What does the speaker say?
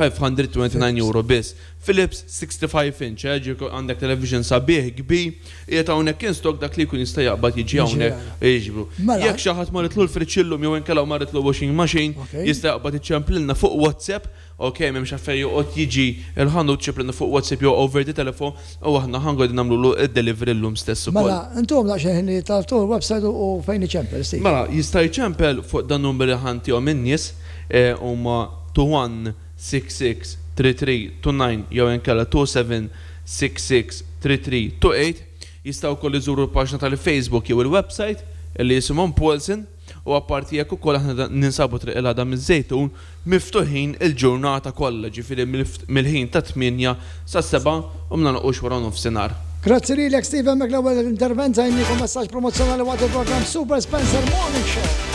529 euro biss. Philips 65 inch, eh, ġifieri għandek television sabiħ, kbir, qiegħed hawnhekk in stock dak li jkun jista' jaqbad jiġi hawnhekk jiġbru. Mela. Jekk xi ħadd marritlu l-fridge illum jew inkella marritlu washing machine, jista' jaqbad iċemplilna fuq WhatsApp, ok, m'hemmx għalfejn joqgħod jiġi l-ħanut, ċemplilna fuq WhatsApp jew over the telephone u aħna ħa nqogħdu nagħmlulu d-delivery llum stess ukoll. Mela, intuhom daqsxejn ħin li tagħtu l-website u fejn iċempel, Steve. Mela, jista' jċempel fuq dan numri li ħa ntihom in-nies, huma 21 663329 jew inkella 27663328. Jistgħu wkoll iżuru l-paġna tal-Facebook jew il-website li jisimhom Paulsen u apparti hekk ukoll aħna ninsabu Triq il-Għada miż-Żejtun miftuħin il-ġurnata kollha, ġifieri mill-ħin tat-tmienja sas-sebgħa u ma nagħlqux wara nofsinhar. Grazzi lilek Steve hemmhekk l-ewwel intervent għajniekom messaġġ promozzjonali waqt il-programm Super Spencer Morning Show.